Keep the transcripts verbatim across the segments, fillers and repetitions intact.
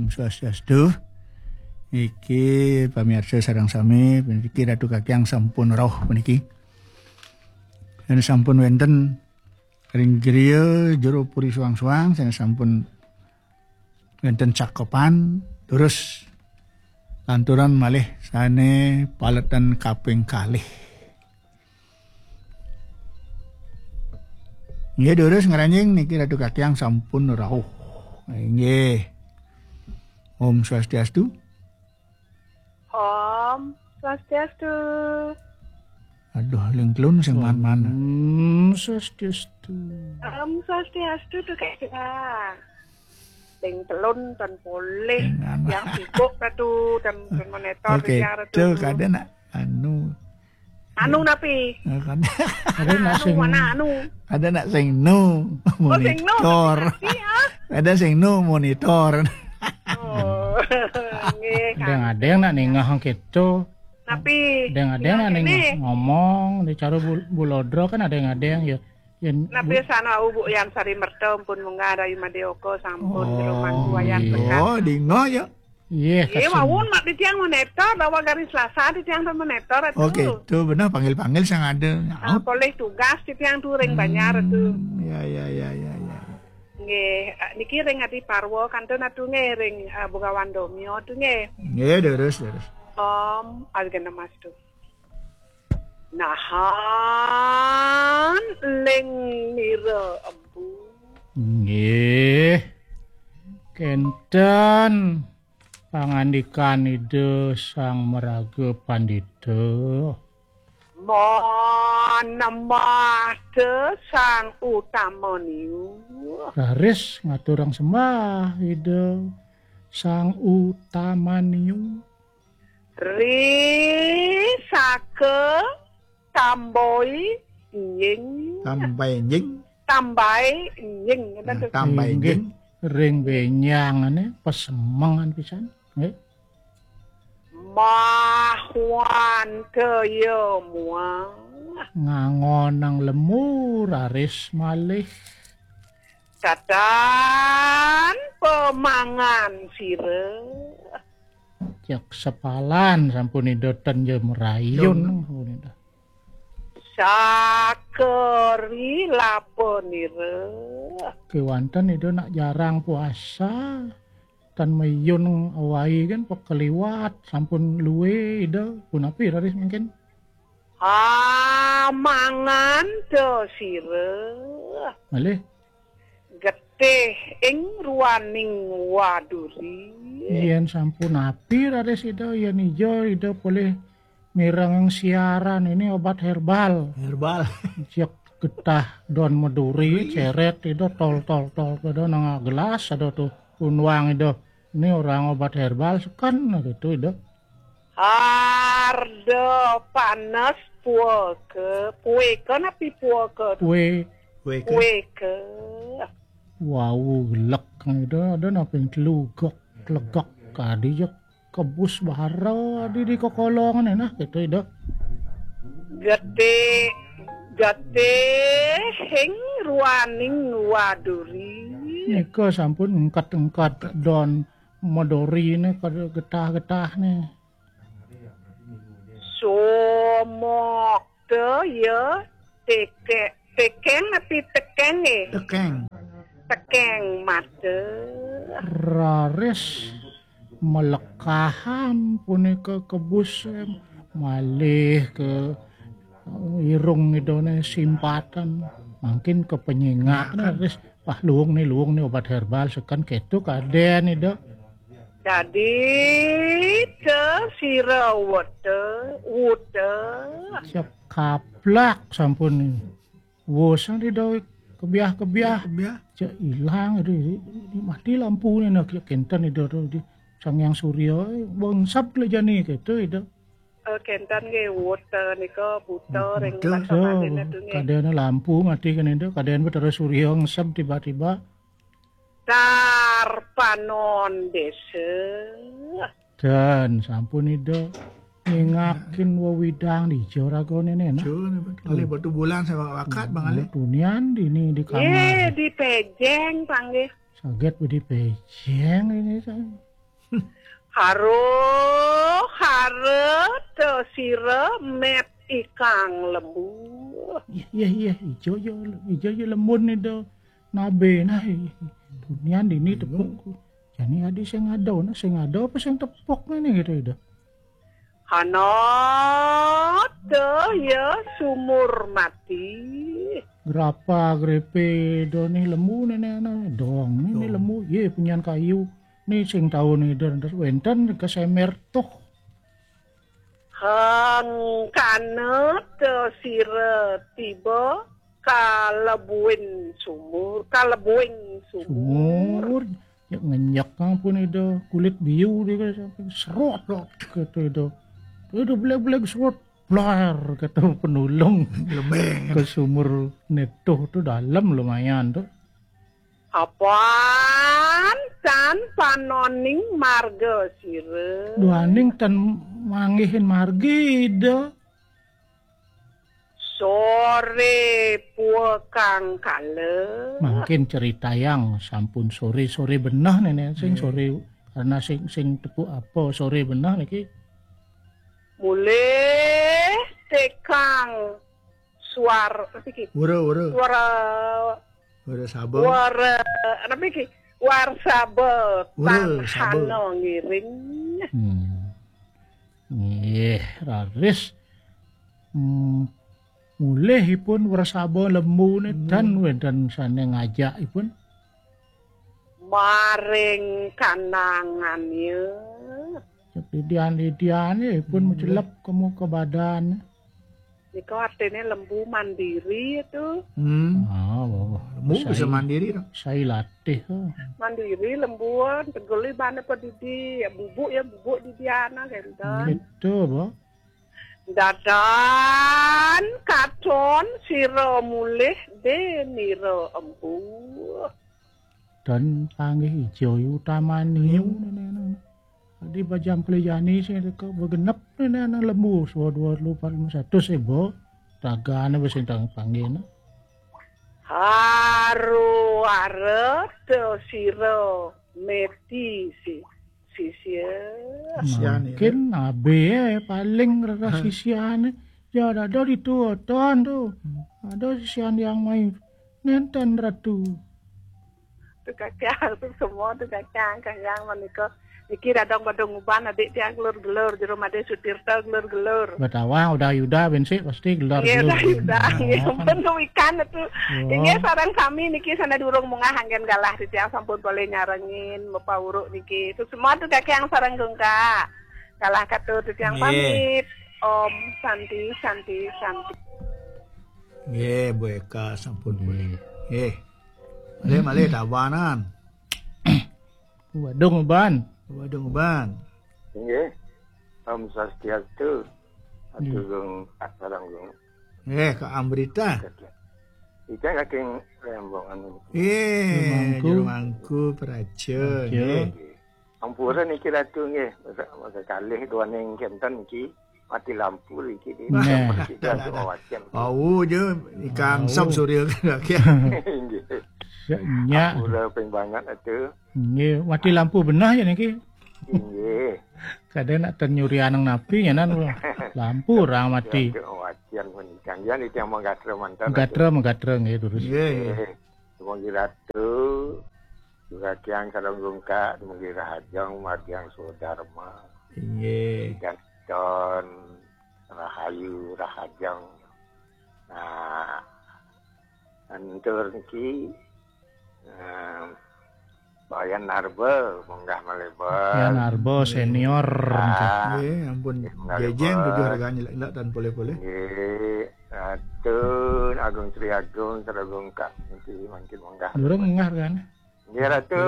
Swastiastu. Niki pamirsa sareng sami, niki Ratu Kakyang sampun rauh puniki. Yen sampun wenten ring griya jero puri suang-suang, sane sampun wenten cakepan, terus lanturan malih sane paletan kaping kalih. Nggih, durus ngranjing niki Ratu Kakyang sampun rauh. Nggih. Om Swastiastu. Om Swastiastu. Aduh, ling telun sing man-man. Hmm, Swastiastu. Om Swastiastu tu Kak Cika. Ling telun tan polih. Sing anu. Yang sibuk Ratu dan monitor. Oke, yang Ratu. Cuk, ada nak anu. Anu napi? Eh, kan. Ada nak anu, sing, mana anu? Ada nak sing nu. Oh, sing nu. Monitor. Iya. Ada sing nu monitor. Oh, nggih, kan. Ada yang nak ningah gitu. Tapi ada yang ada yang nak ningah ngomong di cara bul-, bulodro kan ada yang ada yang ya. Yen napi bu- sana ubuk yang sari merta pun munggah ada Yuma Deoko sampun. Oh, rumah wayan iya. Pekat. Oh, dingo ya. Iya, iya, kasen. Mawon mak titiang monitor, bahwa garis Selasa titiang pun monitor itu. Oke, itu benar panggil-panggil sang ada. Ah, polih tugas titiang tu ring Banjar tu. Ya, ya, ya, ya, ya. Nggih, eh, niki ring Adi Parwa kantun atu nggih ring, eh, Bugawan Domio tu nggih. Nggih, terus, terus. Om Algena Mastu. Nahan ling nira empu. Nggih. Kenten pangandikan Ida Sang Maraga Pandita. Manembah te Sang Utama Niu. Raris ngaturang sembah Ida Sang Utama Niu. Ri saka tamboi nying. Tambai nying. Tambai nying. Nah, tambai nying. Ring benyang ane pesemengan pisan. Nggih. Mahwan kaya muah. Ngangonang lemu raris malih. Tatan pemangan sira. Cek sepalan sampun Ida ten ya merayun. Sampun Ida. Sakeri lapenira. Kewanten Ida nak jarang puasa. Tan mayun awai kan pekeliwat sampun luwe Ida. Punapi raris mungkin? Amangan to sira. Malih. Getih ing ruaning waduri. Yen sampun api raris Ida, yen ijo Ida polih mireng siaran ini obat herbal. Herbal. Cek getah don meduri, ceret Ida tol, tol, tol, Ida nang gelas ada tu unwang Ida. Ini orang obat herbal seken gitu Ida. Arda panes puaka. Pueka napi puaka? Pue. Pueka. Pueka. Wau gelek ada, ada napi telugak, telegak kadi ja kebus bahara di, di kokolongan nah gitu Ida. Gede, gede hing ruaning waduri. Nika sampun engkat-engkat don meduri ne kada getah-getah ne. Somok te ya teke-, tekeng napi tekeng eh? Tekeng. Tekeng mata. Raris melekahan punika kebus, eh, malih ke irung Idane simpatan. Mangkin kepenyingak raris, wah, luung ni, luung ni obat herbal seken ketu kaden Ida. Dadi te sira wete, wute. Siap kaplak sampun ni. Wos di doi kebiah-kebiah. Kebiah. Cek ilang itu, mati lampu ni nak kenten itu tu di Sang Hyang Surya, eh, bangsap le jani gitu itu. Eh, kenten nggih wute nika buta ring buta. Basa Bali tu nggih. Kadene lampu mati kan itu, kadene Betara Surya ngesep tiba-tiba. Darpanon desa. Dan sampun Ida ngingakin wewidang di Joragone nena. Kalih batu bulan saya wakat Bang Ali. Tunian dini di kamar. Eh, di pejeng panggih. Saget di pejeng ini saya. Haro, haro, te sira met ikang lembu. Iya, iya, iya, ijo ya, ijo ya lembun ida nabe nah. Dunian dini tepuk. Jani adi sing ada, nah sing ada apa sing tepuk ngene gitu ida. Hana te ya sumur mati. Grapa grepe do nih lembu nene ana dong nih lembu ye punyan kayu. Nih sing taun nih dan wenten kesemer tuh. Hang kana te sira tiba kalebuin sumur, kalebuing sumur. Sumur. Ya ngenyek ampun ida kulit biu dia sampai serot serot gitu ida. Ida beleg-beleg serot blar kata penulung. Lebeng. Ke sumur netuh tuh dalam lumayan tuh. Apan tan panoning marga sira. Duaning tan manggihin margi ida. Sore pua kang kala. Mungkin cerita yang sampun sore-sore benah nenek sing sore karena sing sing tepuk apa sore benah niki. Mulih tekang suar apa iki? Wura, wura. Suara Wara saba. Wara apa iki? War saba. Wura saba. Tanhana ngiring. Hmm. Nggih, raris. Hmm. Mulih ipun wresaba lembune dan wedan sane ngajak ipun. Maring kanangannya. Didian-didiane ipun mecelep ke muka badan. Nika artine lembu mandiri itu. Hmm. Ah, oh. Lembu bisa mandiri dong. Saya latih. Mandiri lembuan, tegeli bane pedidi, ya bubuk ya bubuk didiana kenten. Gitu, Bu. Dadan katon sira mulih denira empu. Dan panggih ijo utamane. Tadi bajam kelejani sing teko begenep nene ana lembu, dua dua telu empat lima satu sebo. Tagane wis entar panggihne. Haru arep sira meti si sisia. Mungkin abe paling rasa sisiane. Ya ada di tuotan tuh. Ada sisian yang main. Nenten ratu. Tuh kakang, tuh semua tuh kakang, kakang menika. Niki radong badong uban adik tiang gelur-gelur, jero made sutirta gelur-gelur. Betawa udah yuda bensik pasti gelur-gelur. Iya, udah yuda. Nggih, sampun ikan itu. Inggih sareng sami niki sana durung mungah anggen galah titiang sampun boleh nyarengin Bapak Uruk niki. Tuh semua tuh kakang sareng gungka. Galah katu titiang pamit. Om Santi, Santi, Santi. Nggih, Bu Eka sampun boleh. Nggih. Malih, malih tabanan. Wadung uban. Wadung uban. Inggih. Om Swastiastu. Atur gong sareng gong. Eh, Kak Amrita. Ika kaking rembong anu. Eh, juru mangku praja. Nggih. Ampura niki Ratu nggih. Masa, masa kalih duaning kenten niki. Mati lampu iki di. Nah. Kita tuh wajan. Oh, je ikang sop surya kena. Inggih. Nya. Udah ping banget atuh. Inggih, mati lampu benah ya niki. Inggih. Kadang nak ternyuri anang napi ya nan lampu orang mati. Wajan menikang ya niki yang menggatro mantan. Menggatro menggatro nggih terus. Inggih. Semoga Ratu juga kiang kadang gungka, semoga rahajeng margiang swadharma. Inggih. Dan don rahayu rahajeng. Nah, antur niki eh, Bayan Narba munggah malebar. Bayan Narba senior. Nggih, ampun. Jejeng tujuh harganya lek dan boleh-boleh. Nggih, Ratu Agung Sri Agung, Sri Agung Kak niki mangkin munggah. Durung munggah kan? Nggih, Ratu.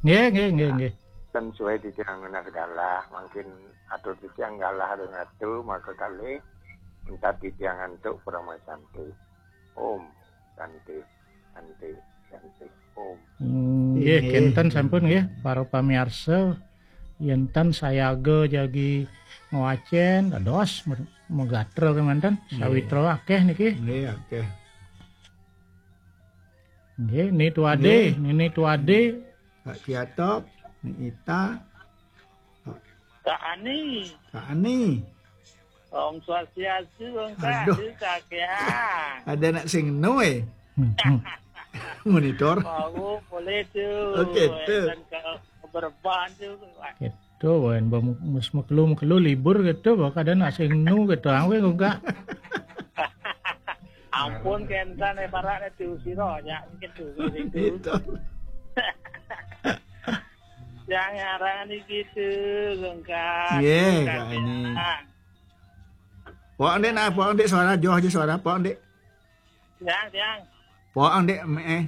Nggih, nggih, nggih, nggih. Dan suwe titiang ngenah galah, mangkin atur titiang galah ring Ratu, maka kalih entat titiang antuk parama santi. Om Santi, Santi, Santi, Om. Hmm, nggih, kenten sampun nggih, para pamiarsa. Yen tan sayaga jagi ngwacen, dados me-, megatra kemanten, sawitra akeh niki. Nggih, akeh. Nggih, Ni Tuade, Nini Tuade. Kak Kiatop, Ni Ita. Kak Ani. Kak Ani. Om Swastiastu, Om Kak. Aduh. Aduh, Kak, ya. Ada nak sing no, eh? Hmm, hmm. Monitor. Oh, boleh tu. Okey, tu. Dan ke, ke Bereban tu. Gitu, wan. Ba mu-, mus makelu-makelu libur gitu, ba kada nak sing no gitu. Angwe enggak. Ampun, kentan, eh, barat tu, siro, ya, gitu, gitu. Gitu. Yang ngarang ni gitu, lengkap. Ye, Kak Ani. Pok, Dek, nah, pok, Dek, suara, joh aja suara, pok, Dek. Tiang, tiang. Pok, Dek, me, eh.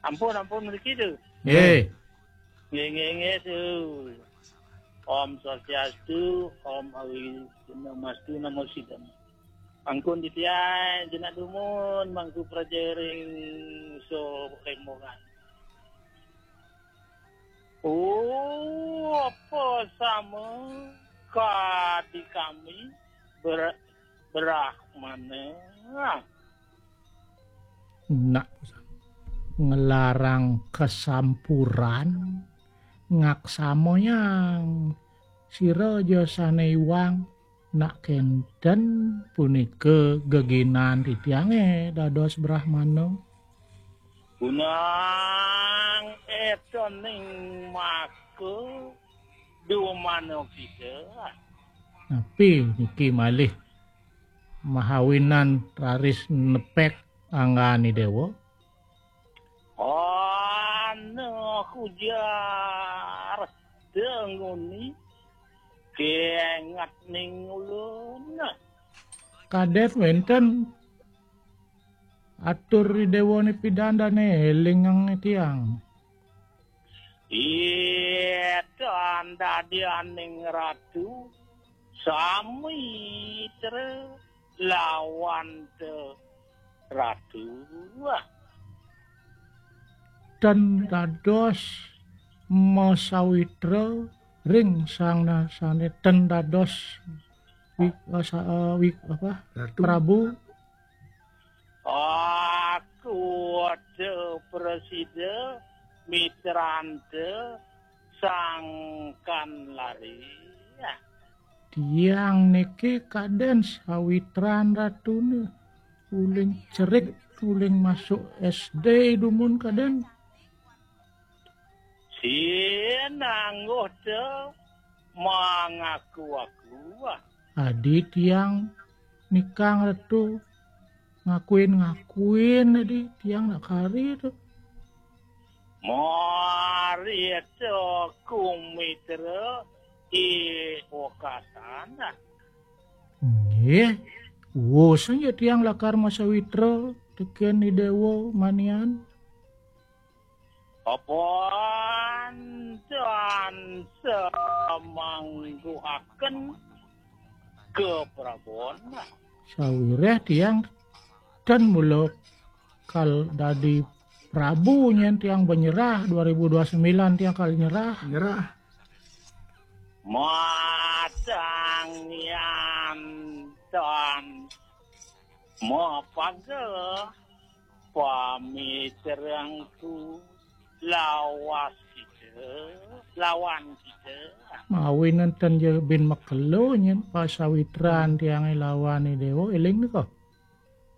Ampun, ampun, mriki tu. Nggih. Nggih, nggih, nggih, tu. Om Swastiastu, Om Awighnamastu, Namo Siddham. Angkun titiang jenak dumun, mangku praja ring so lembongan. Oh, apa sama kadi kami ber-, Brahmana? Nak ngelarang kesampuran, ngaksamo yang sira ja sane iwang, nak kenten punika geginan titiange dados Brahmana. Unang etoning maka dumano kita. Napi niki malih mahawinan raris nepek anggane dewa? Ana kujar denguni kengat ning ulun. Kadet wenten atur ri dewane pidan dane eling ang tiang. Itan dadianing ratu, samitra lawan te ratu. Ten dados masawitra ring sang nasane ten dados wi-, eh, sa-, eh, wi-, apa? Ratu. Prabu. Aku ada prasida mitranta sangkan lari. Tiang niki kaden sawitran ratune. Uling cerik, uling masuk S D dumun kaden. Sinangguh te mangaku-aku. Adi tiang nikang retu ngakuin-ngakuin adi tiang nak kari tu. Mari te kumitra i wakatan. Nggih, wus ya tiang lakar masawitra teken i dewa manian. Apan tan samangguhaken keprabon. Sawireh tiang ten mula kal dadi prabu nyen tiang banyerah dua ribu dua sembilan tiang kal nyerah. Nyerah. Matang yan tan mapaga pamitrengku lawas kita, lawan kita. Mawi nenten je bin makelo nyen pasawitran tiange lawan i dewa, eling nika.